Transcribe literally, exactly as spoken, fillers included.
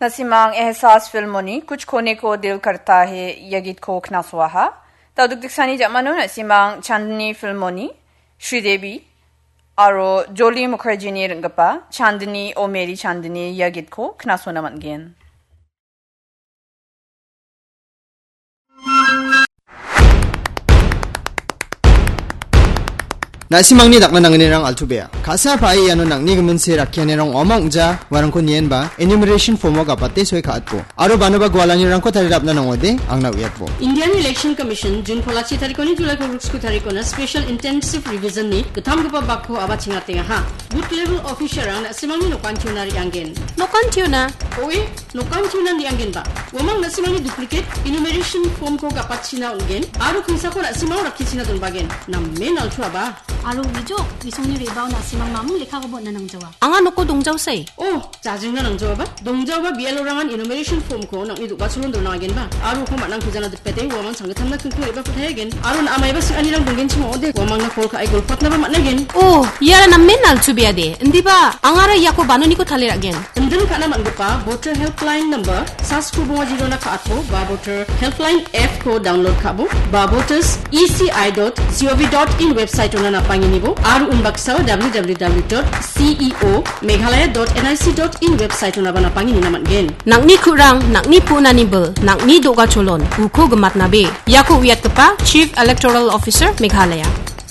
Na·simang Ehsaas filmoni Kuch Khone Ko Dil Karta Hai ia gitko knasoaha. Dal·dukdeksani ja·mano na·simang Chandni filmoni Sridevi aro Jolly Mukherjeeni ring·gipa Chandni O Meri Chandni ia gitko knasona man·gen. Na·simangni dakna nangnirang altu bea. Ka·sa pa·e iano nang·ni giminse rakkianirang ong·a ong·ja uarangko nienba enumeration form-o gapate soi ka·atbo. Aro banoba gualanirangko tarirapna nang·ode angna uiatbo. Indian Election Commission June polachi tarikoni July kolgriksku tarikona Special Intensive Revision-ni gittamgipa bakko aba chengatengaha. Booth level officer-rang na·simangni nokantiona re·anggen. Nokantiona? Oe, nokantiona re·anggenba. Uamang na·simangni duplicate enumeration form-ko gapatchina on·gen aro kingsako na·simang rakkichina donbagen. Namen altuaba. Aro uijo, isongni re·bao na·simang mamung lekkakoba on·na nangjawa. Anga noko dongjaosai. Oh, jajingna nangjaoba. Dongjaoba B L O-rangan enumeration form-ko nang·ni do·gacholon donangagenba. Aro uko man·angkujana dipete uamang changgitamna kingko re·bako tayagen. Aro na·a maiba sing·anirang donggenchim ong·ode, uamangna call ka·e golpatnaba man·agen. Oh, iara namen altubeade. Indiba, angara iako banoniko tale ra·gen. Indin ka·na man·gipa Voter Helpline number sasko bonga jirona ka·atbo ba Voter Helpline app-ko download ka·bo ba voters E C I dot G O V dot in website-ona napanginibo aro unbaksao W W W dot C E O Meghalaya dot N I C dot in website-onaba napanginina man·gen. Nang·ni ku·rang, nang·ni pu·nani bil, nang·ni do·gacholon, uko gimatnabe. Iako uiatgipa Chief Electoral Officer Meghalaya.